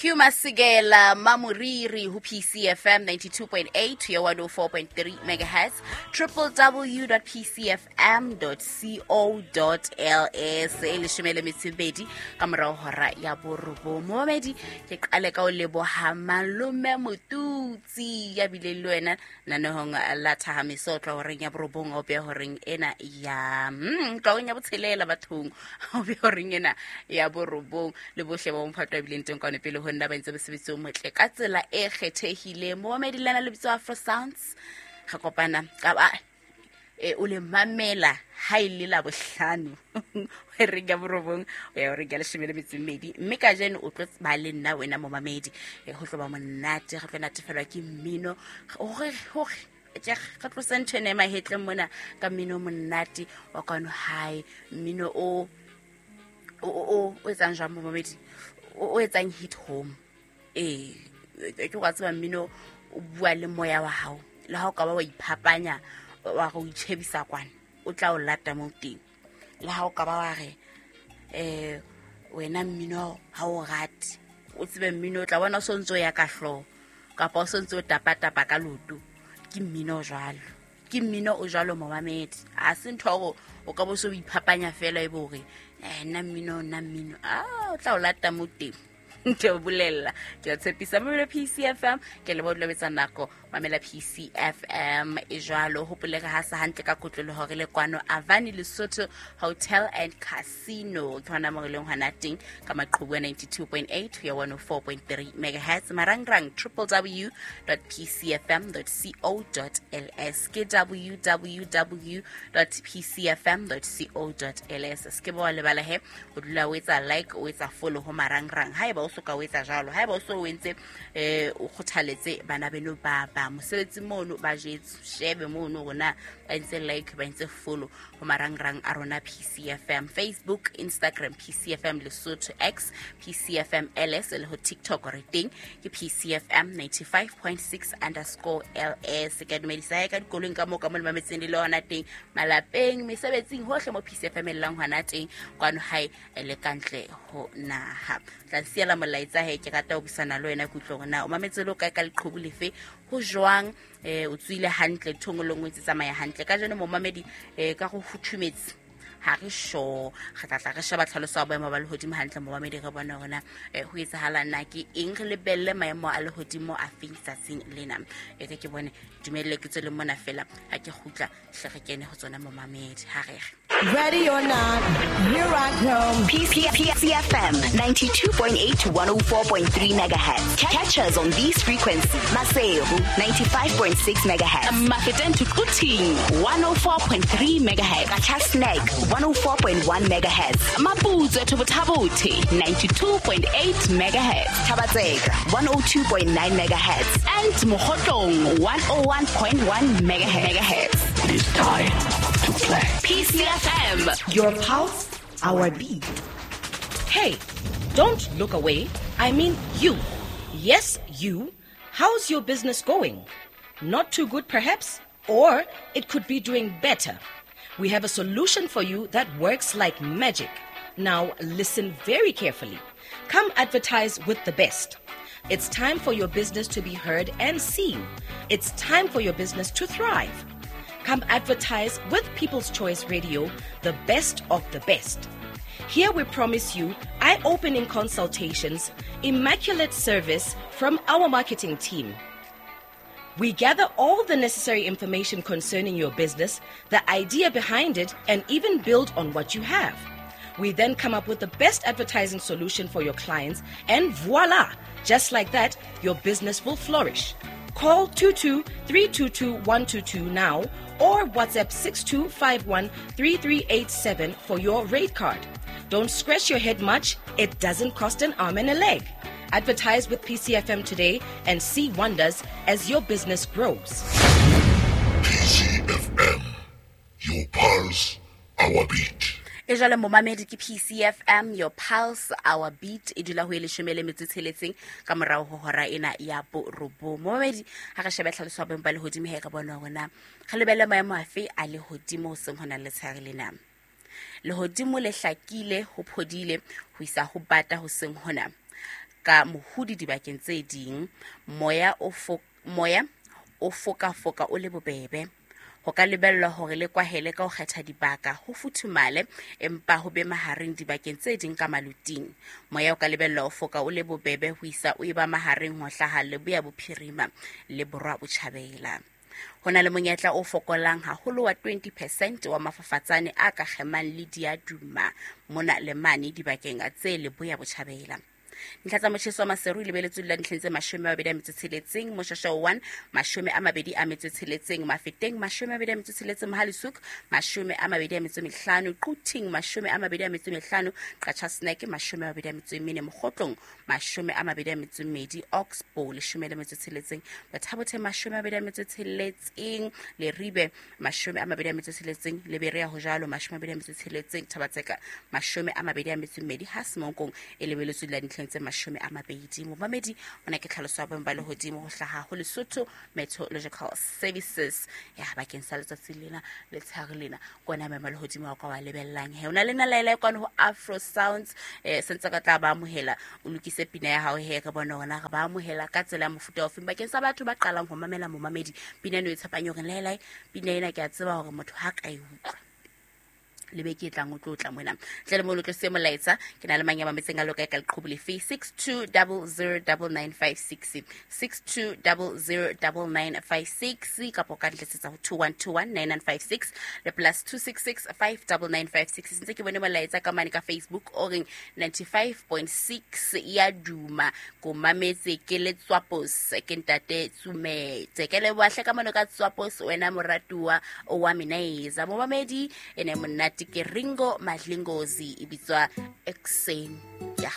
Hugh Masekela Mamoriri ho PCFM 92.8 to 104.3 megahertz, www.pcfm.co.ls. E leshome le metso e mebedi ka morao hora ya borobong. Momamedi, ke qale ka o leboha malome Motutsi ya bileng le wena nanehong la thahamiso o tla horeng ya borobong o beya horeng ena ya tla horeng ya botshelela bathong o beya horeng ena ya borobong le bohle ba bomphato a bileng teng kwane pele ho nna ba entse mosebetsi o motle ka tsela e kgethehileng. Momamedi, lena lebitso Afro Sounds, re kopana ka ba e o le mamela ha e le la bohlano horeng ya borobong o ya horeng ya leshome le metso e mmedi, mme ka jeno o tlo ba le nna wena momamedi. Ho tlo ba monate, re tlo natefelwa ke mmino hore re tlose ntho ena e mahetleng mona ka mmino o monate wa kwano hae, mmino o o etsang jwang momamedi, o etsang hit home. Ee, ke wa tseba mmino o bua le moya wa hao, le ha o ka ba wa iphapanya wa re o itšhebisa kwana, o tla o lata mo teng. Le ha o ka ba wa re wena mmino ha o rate, o tsebe mmino o tla bona o sontse o ya ka hlooho kapa o sontse o tapatapa ka loto. Ke mmino o jwalo, ke mmino o jwalo momamedi. Ha se ntho ya hore o ka bo se o iphapanya fela e be hore nna mmino, nna mmino, a o tla o lata mo teng. Ke o bolella, ke o tshepisa. Mamela PCFM, ke leboha dula betsa nako. Mamela PCFM e jwalo. Hopole re hasa hantle ka kotloloho re le kwano Avani Lesotho Hotel and Casino, ke hona mo re leng hona teng ka maqhubu a 92.8 ho ya 104.3 megahertz, marangrang www dot pcfm dot co dot ls, ke www dot pcfm dot co dot ls. Se ke ba wa lebala he o dula o etsa like, o etsa follow ho marangrang. Haeba o soka o etsa jwalo, haeba o so o entse, o kgothaletse bana beno ba ba mosebetsi mono ba jetse, shebe mono rona ba entse like, ba entse follow ho marangrang a rona PCFM, Facebook, Instagram PCFM Lesotho, X PCFM LS, le ho TikTok re teng ke PCFM 95.6 underscore LS. Ke a dumedisa hae ka dikoloing ka moo ka mo le mametseng le le hona teng, malapeng, mesebetsing, hohle mo PCFM e llang hona teng kwano hae le kantle ho naha. Tla siela molaetsa he, ke rata ho buisana le wena, ke utlwe hore na o mametse le o kae ka leqhubu lefe, ho jwang, o tswile hantle nthong e le nngwe tse tsamaya hantle ka jeno momamedi, ka go futhumetse ha re sure. Re tla tla re sheba tlhaloso ya boemo ba lehodimo hantle momamedi, re bone hore na ho etsahala na ke eng, re lebelle maemo a lehodimo a feng tsatsing lena. E re ke bone, dumelle ke tswele mona fela, ha ke kgutla hle re kene ho tsona momamedi, ha re re. Ready or not, here I come. PCFM 92.8 to 104.3 megahertz. Catch us on these frequencies. Maseru 95.6 megahertz. Mafeteng to Quthing 104.3 megahertz. Qacha's Nek 104.1 megahertz. Maputsoe to Botha-Bothe 92.8 megahertz. Thaba-Tseka 102.9 megahertz. And Mokhotlong 101.1 megahertz. It is time to play. PCFM. Your pulse, our beat. Hey, don't look away. I mean you. Yes, you. How's your business going? Not too good, perhaps? Or it could be doing better. We have a solution for you that works like magic. Now, listen very carefully. Come advertise with the best. It's time for your business to be heard and seen. It's time for your business to thrive. Come advertise with People's Choice Radio, the best of the best. Here we promise you eye-opening consultations, immaculate service from our marketing team. We gather all the necessary information concerning your business, the idea behind it, and even build on what you have. We then come up with the best advertising solution for your clients, and voila! Just like that, your business will flourish. Call 22-322-122 now or WhatsApp 6251-3387 for your rate card. Don't scratch your head much. It doesn't cost an arm and a leg. Advertise with PCFM today and see wonders as your business grows. PCFM, your pulse, our beat. E jwale momamedi ke PCFM, your pulse, our beat. E dula ho e leshome le metso e tsheletseng ka morao ho hora ena ya borobong. Momamedi, ha re shebe tlhaloso ya boemo ba lehodimo he re bone hore na re lebelle maemo afe a lehodimo ho seng hona le letshehare lena. Lehodimo le hlakile, ho phodile ho isa ho bata ho seng hona. ka mohudi dibakeng tse ding. Moya o foka o le bobebe. Ho ka lebellwa hore le kwahele ka ho kgetha dibaka ho futhumale empa ho be mahareng dibakeng tse ding ka maluting. Moya o ka lebellwa ho foka o le bobebe ho isa o eba mahareng ho hlaha leboya bophirima le borwa botjhabela. Ho na le monyetla o fokolang haholo wa 20% wa mafafatsane a ka kgemang le diaduma mona le mane dibakeng tse leboya botjhabela. Dintlha tsa motjheso wa Maseru e lebeletswe la dintlheng tse 26, Moshasha 1 26, Mafeteng 26, Mohale's 25, Quthing 25, Qacha Snack 24, Mokgotlong 22, Oxbow 16, Bathabothe 26, Leribe 26, Leberea ho jalo 26, Thabatseka 22, ha Semonkong e lebeletswe la dintlheng tse 20. Momamedi ona ke tlhaloso ya boemo ba lehodimo ho hlaha ho Lesotho Meteorological Services ya bakeng sa letsatsi lena letshehare lena kona boemo ba lehodimo wa ka wa lebellang he. O na le nalaela e kwano ho Afro Sounds, sentse ka tla ba amohela o lokise pina ya hao he re bone hona re ba amohela ka tsela ya mofuta ofeng bakeng sa batho ba qalang ho mamela momamedi pina eno e tshepang hore laelae pina ena ke a tseba hore motho ha ka e utlwa le be ke tlang o tlotla mona tle le mo lo tlose molaetsa ke na le mang ya mametseng a loka ka leqhubu lefe 62009956 62009956 kapo ka ntletsetsa ho 21219956 le plus 266599956. Ntse ke bone molaetsa ka mane ka Facebook o reng 95.6 ya duma ko mametse ke le Tswapos ke ntate Tsumetse ke le boahle ka mona ka Tswapos wena moratuwa wa Minaiza momamedi ene monate ke Ringo Madlingozi e bitswa Ekseni ya.